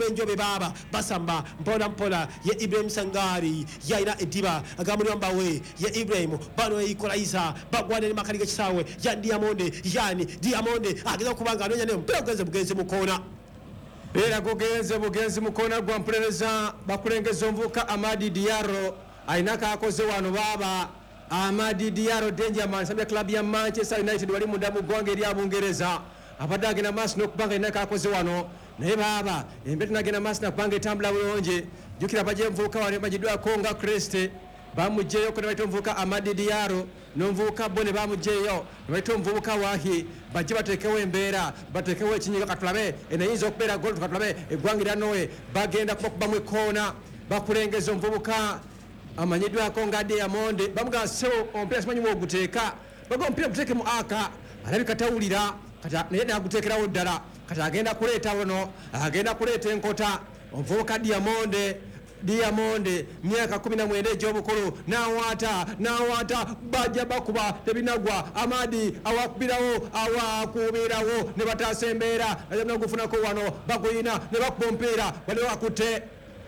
Enjobe baaba basamba mpola mpola. Ye Ibrahim Sangari yalina eddiba, agamba we ye Ibrahim bano equalizer bagwana ne makali g'ekisaawe ya Diamonde. Yani Diamonde ageza okuba nga anoonya, naye omupiira gugenze bugenzi mu koona. Era gugenze bugenzi mukona gwa mpulereza. Bakulengeza omuvubuka Amadi Diaro, alina kakoze wano baaba. Amadi Diaro, Dangerman, sambya club ya Manchester United wali munda mu ggwanga erya Bungereza, abadde agenda maaso n'okuba nga alina kakoze wano, naye baaba embeera tenagenda maaso nakubanga etambula bulungi. Jjukira bajja envubuka wano emanyiddwako nga Kreste, bamugjeyo ne bayita omuvubuka Amadi Diaro n'omuvubuka bo ne bamugjeyo ne bayita omuvubuka Wahi, bajje bateekewo embeera, bateekewo ekinyiga. Katulabe eno eyinza okubeera gol. Katulabe eggwanga erya Norway bagenda kubakubamu ekoona. Bakulengeza omuvubuka amanyiddwako nga Diamond. Bamugamba, "Sebo, omupiira simanyi woguteeka." Baga, "Omupiira guteeke mu aka." Alabika tawulira kati, naye naguteekerawo ddala. Kati agenda kuleeta wano, agenda kuleeta enkota omuvubuka Diamonde. Diamonde, myaka 19 egy'obukulu, nawaata nawaata, bajja bakuba, tebinagwa. Amadi awakubirawo, awakubirawo ne bataasa embeera. Nagufunako wano, baguyina ne bakuba omupiira, bali bakutte.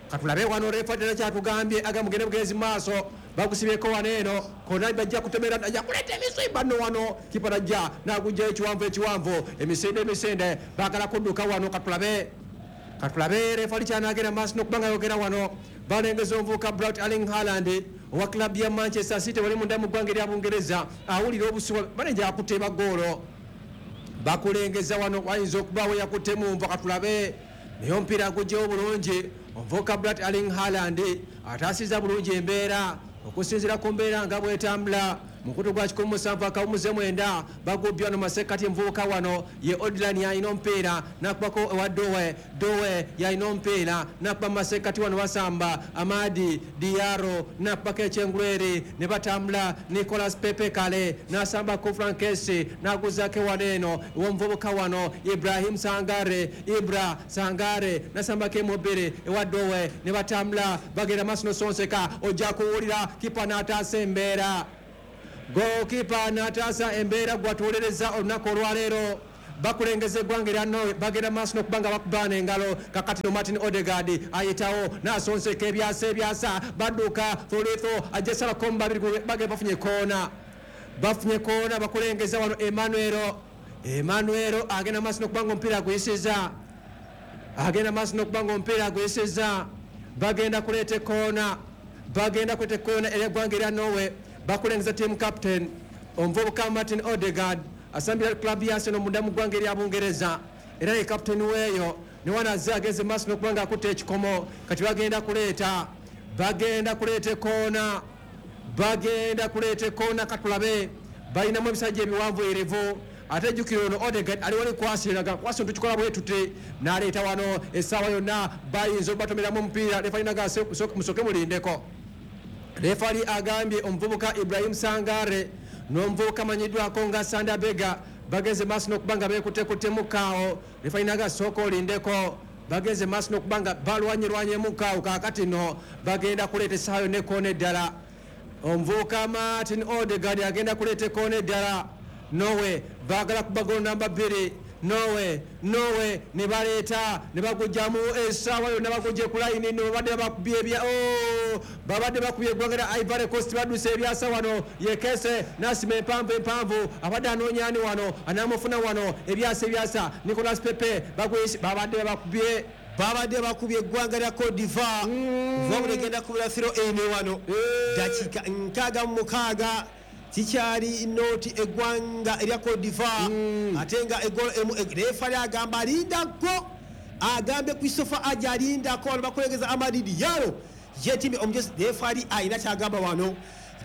Katulabe wano refa tena kyatugambye, aga mugende bugenzi mu maaso. Bagusibyeko wano eno kona, bajja kutemera, ajja kuleeta emisimba nno wano. Kipa najja nagugjayo ekiwanvu ekiwanvu, emisinde emisinde, bagala kudduka wano. Katulabe, katulabe refali kyanagenda maaso n'okuba nga yogera wano. Balengeza omuvubuka Brat Erling Haaland owa club ya Manchester City wali munda mu ggwanga erya Bungereza, awulira obusuwa banenja akuteeba goolo. Bakulengeza wano, wayinza okubaawo yakutte munva. Katulabe, naye omupiira agugjewo bulungi. Omuvubuka Brat Erling Haaland ataasiza bulungi embeera okusinziira ku mbeera nga bwetambula. Mukutu gwa 17.9 bagubbye wano masekkati. Muvubuka wano ye Odlan yalina omupiira, nakubako ewa Dowe. Dowe yalina omupiira, nakuba masekkati wano. Basamba Amadi Diaro, nakubako ekyengulweri ne batambula. Nicolas Pepe kale nasambako Frankesi, naguzako wano eno ew'omuvubuka wano Ibrahim Sangare. Ibra Sangare nasambako emubiri ewa Dowe ne batambula, bagenda maaso nosonseka. Ojja kuwulira kipa n'ataasa embeera, gokipa n'ataasa embeera. Gwatuwolereza olunaku olwaleero, bakulengeza eggwanga erya Norway, bagenda maaso n'okuba nga bakubaana engalo. Kakati no Martin Odegard ayitawo n'asonseka ebyasa ebyasa, badduka fulitho, ajja salako mu babiri, bagenda bafunye koona, bafunye koona. Bakulengeza wano Emmanuelo. Emmanuelo agenda maaso n'okuba nga omupiira aguyisiza, agenda maaso n'okuba nga omupiira aguyisiza. Bagenda kuleeta ekoona, bagenda kuleeta ekoona ery'eggwanga erya Norway. Bakulengeza team captain omuvubuka Martin Odegard, asambira club ya Arsenal munda mu ggwanga erya Bungereza, era ye captain weeyo. Newanaze agenze maaso n'okuba nga akutte ekikomo. Kati bagenda kuleeta, bagenda kuleeta ekoona, bagenda kuleeta ekoona. Katulabe, balinamu ebisajja ebiwanvu erevu. Ate jjukira ono Odegard ali wali kwasiraga kwasi, tukikola bwe tuti, n'aleeta wano. Essaawa yonna bayinza okubatomeramu omupiira. Refalinaga, "Musoke mulindeko." Refali agambye omuvubuka Ibrahim Sangare n'omuvubuka amanyiddwako nga Sanda Bega bagenze maaso n'okuba nga beekuttekuttemu-kaawo. Refalinaga, "Sooka olindeko." Bagenze maaso n'okuba nga balwanyerwanyemukaawo. Kaakati no bagenda kuleeta essaawa yonna ekoona eddala. Omuvubuka Martin Odegard agenda kuleeta ekoona eddala. Norway baagala kuba golo namba 2. Norway, Norway ne baleeta ne bagugjamu. Essaawa yonna bagujje ku layini. No babadde bakubye ebya, oh, babadde bakubye eggwanga lya Ivory Coast. Badduse ebyasa wano. Yekese nasima empanvu empanvu, abadde anoonya ani wano, anamufuna wano. Ebyasa ebyasa, Nicolas Pepe bagwisi, babadde babakubye. Babadde bakubye eggwanga lya Cote d'Ivoire. Wabula egenda kubira throw ene wano. Dakiika 66, kikyali nooti eggwanga erya Cote d'Ivoire, ate nga egolo emu. Refali agamba alindako, agambye Christopher aja alindako. Wano bakulengeza Amadi Diaro yetimye omugezi. Refali ayina kyagamba wano.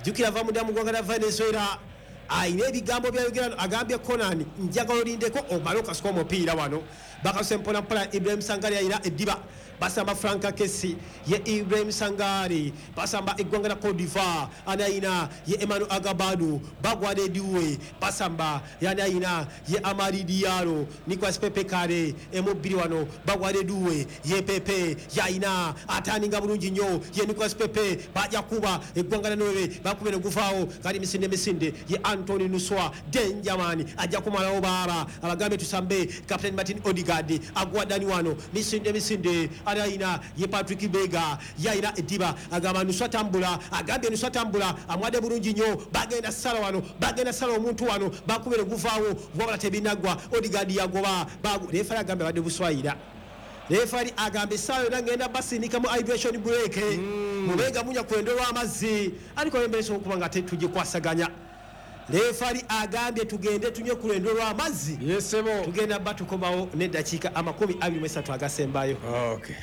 Jjukira ava munda mu ggwanga lya Venezuela, ayina ebigambo byayogera. Agambye Conan, "Njagala olindeko omale okasuka omupiira." Wano bakasuse mpolampola. Ibrahim Sangari ayina eddiba, basamba Franka Kesi, ye Ibrahim Sangari, basamba eggwanga lya Cote d'Ivoire. Ani ayina? Ye Emmanuel Agabadu, bagwada ediwe, basamba. Yani ayina? Ye Amadi Diaro, Nicolas Pepe kare emubbiri wano, bagwada eduwe, ye Pepe yayina, ataninga bulungi nnyo ye Nicolas Pepe. Bajja kuba eggwanga lya Norway, bakube neguvaawo. Kali misinde misinde, ye Antony Nuswa Denjaman ajja kumalawo baaba. Abagambe tusambe. Captain Martin Odegard. Odegaard agwa Dani wano, misinde misinde, arayina ye Patrick Bega yayina eddiba, agamba nuswa tambula, agambye nuswa tambula, amwadde bulungi nnyo. Bagenda sala wano, bagenda sala omuntu wano, bakubere guvaawo, wabula tebinaggwa. Odegaard yagoba, refari agambye abadde buswayira. Refari agamba essaawa yonna ngenda basindika mu hydration break, mubenga munya kwendo lw'amazzi, ariko emberesa okuba nga tugikwasaganya. Refari agambye tugende tunywe ku lwendo lw'amazzi. Yesebo. Tugenda ba tukomawo n'eddakiika 23 agasembayo. Okay.